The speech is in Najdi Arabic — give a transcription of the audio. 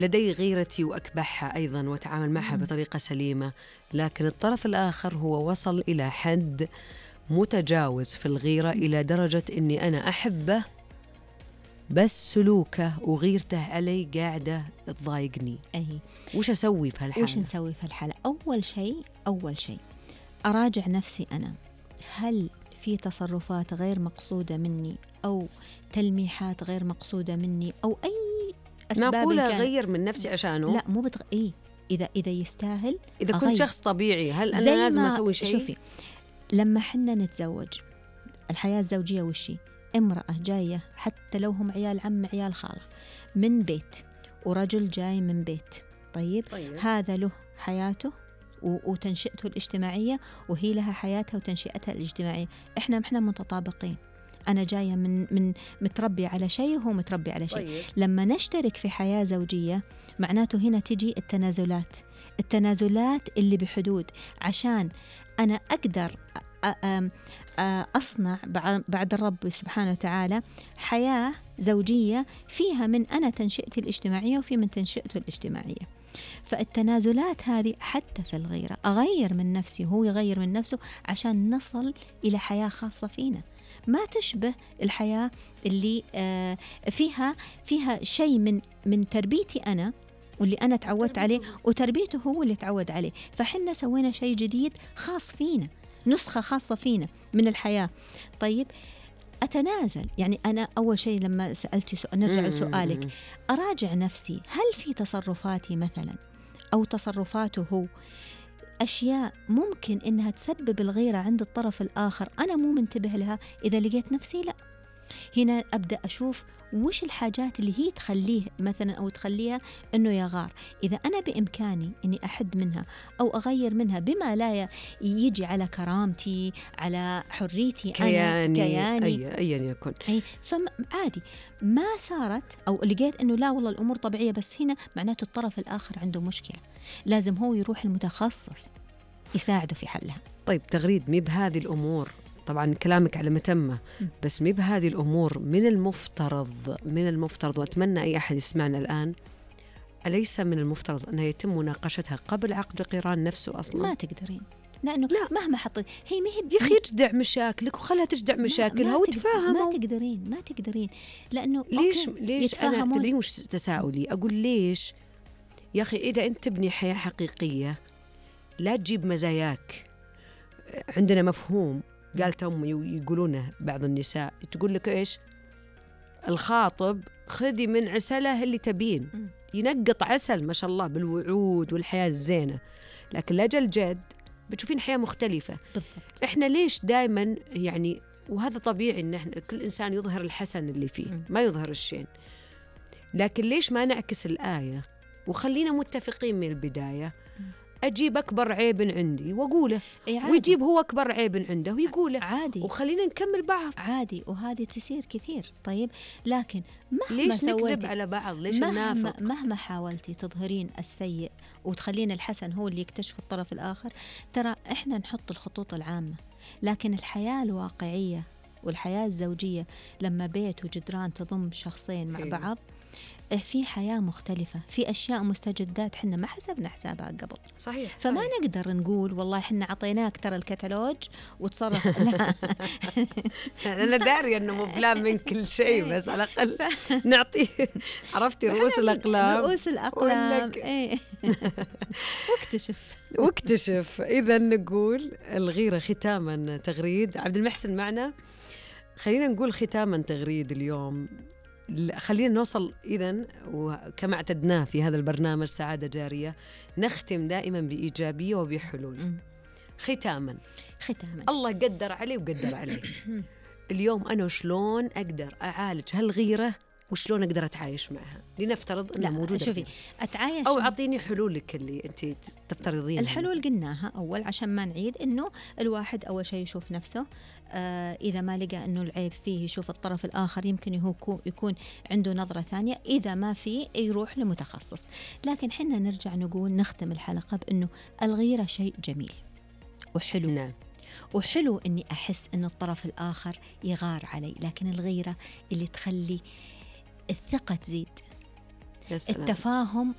لدي غيرتي وأكبحها أيضا وأتعامل معها بطريقة سليمة، لكن الطرف الآخر هو وصل إلى حد متجاوز في الغيرة إلى درجة أني أنا أحبه بس سلوكه وغيرته علي قاعدة تضايقني. وش أسوي في هالحالة؟ وش نسوي في الحالة؟ أول شيء أراجع نفسي أنا، هل في تصرفات غير مقصودة مني أو تلميحات غير مقصودة مني أو أي أسباب معقولة أغير من نفسي عشانه؟ لا مو إذا يستاهل، إذا كنت شخص طبيعي هل أنا لازم أسوي شيء؟ شوفي، لما حنا نتزوج الحياة الزوجية وشي، امرأة جاية حتى لو هم عيال عم عيال خالة من بيت، ورجل جاي من بيت، طيب. هذا له حياته وتنشئته الاجتماعية، وهي لها حياتها وتنشئتها الاجتماعية. إحنا متطابقين، أنا جاية من متربي على شيء وهو متربي على شيء. لما نشترك في حياة زوجية معناته هنا تجي التنازلات اللي بحدود، عشان أنا أقدر أصنع بعد الرب سبحانه وتعالى حياة زوجية فيها من أنا تنشئتي الاجتماعية وفي من تنشئته الاجتماعية. فالتنازلات هذه حتى في الغيرة، أغير من نفسي وهو يغير من نفسه عشان نصل إلى حياة خاصة فينا ما تشبه الحياة اللي فيها شيء من تربيتي أنا واللي أنا تعودت عليه وتربيته هو اللي تعود عليه. فحنا سوينا شيء جديد خاص فينا، نسخة خاصة فينا من الحياة. طيب أتنازل، يعني أنا أول شيء لما سألتي نرجع لسؤالك، أراجع نفسي، هل في تصرفاتي مثلا أو تصرفاته هو أشياء ممكن إنها تسبب الغيرة عند الطرف الآخر أنا مو منتبه لها؟ إذا لقيت نفسي لا، هنا أبدأ أشوف وش الحاجات اللي هي تخليه مثلا أو تخليها أنه يغار. إذا أنا بإمكاني أني أحد منها أو أغير منها بما لا يجي على كرامتي، على حريتي، كياني أيا يكن، فعادي ما صارت أو لقيت أنه لا والله الأمور طبيعية، بس هنا معناته الطرف الآخر عنده مشكلة، لازم هو يروح المتخصص يساعده في حلها. طيب تغريد، مي بهذه الأمور، طبعا كلامك على متمة، بس مي بهذه الأمور من المفترض وأتمنى أي أحد يسمعنا الآن، أليس من المفترض أنها يتم مناقشتها قبل عقد قران نفسه أصلا؟ ما تقدرين، لأنه لا. مهما حطيت هي يا أخي تجدع مشاكلك وخلها تجدع مشاكلها وتفاهموا. ما تقدرين لأنه ليش أنا تدرين وش تساؤلي؟ أقول ليش يا أخي إذا أنت تبني حياة حقيقية لا تجيب مزاياك. عندنا مفهوم قالت أمي يقولونه بعض النساء، تقول لك إيش؟ الخاطب خذي من عسله اللي تبين، ينقط عسل ما شاء الله بالوعود والحياة الزينة، لكن لأجل جد بتشوفين حياة مختلفة. بالضبط. إحنا ليش دائما يعني، وهذا طبيعي إن إحنا كل إنسان يظهر الحسن اللي فيه ما يظهر الشين، لكن ليش ما نعكس الآية وخلينا متفقين من البداية؟ أجيب أكبر عيب عندي وأقوله، ويجيب هو أكبر عيب عنده ويقوله، عادي، وخلينا نكمل بعض عادي، وهذه تصير كثير. طيب لكن ليش نكذب على بعض؟ ليش ننافق؟ مهما حاولتي تظهرين السيء وتخلين الحسن هو اللي يكتشف الطرف الآخر، ترى إحنا نحط الخطوط العامة، لكن الحياة الواقعية والحياة الزوجية لما بيت وجدران تضم شخصين مع بعض، في حياة مختلفة، في أشياء مستجدات حنا ما حسبنا حسابها قبل. صحيح. فما نقدر نقول والله حنا عطيناك ترى الكتالوج وتصرف. لا أنا داري أنه مو بلان من كل شيء، بس على الأقل نعطيه، عرفتي، رؤوس الأقلام. إيه. واكتشف. إذا نقول الغيرة ختاما تغريد. عبد المحسن معنا، خلينا نقول ختاما تغريد اليوم، خلينا نوصل إذن، وكما اعتدناه في هذا البرنامج سعادة جارية، نختم دائما بإيجابية وبحلول. ختاما الله قدر عليه وقدر عليه. اليوم أنا شلون أقدر أعالج هالغيرة وشلون أقدر أتعايش معها؟ لنفترض أنها موجودة. شوفي أتعايش، أو أعطيني حلولك اللي أنت تفترضين. الحلول قلناها أول عشان ما نعيد، إنه الواحد أول شيء يشوف نفسه، إذا ما لقى إنه العيب فيه يشوف الطرف الآخر، يمكن يكون عنده نظرة ثانية، إذا ما فيه يروح لمتخصص. لكن حنا نرجع نقول نختم الحلقة بأنه الغيرة شيء جميل وحلو. نعم. وحلو إني أحس إنه الطرف الآخر يغار علي، لكن الغيرة اللي تخلي الثقة تزيد، يا سلام. التفاهم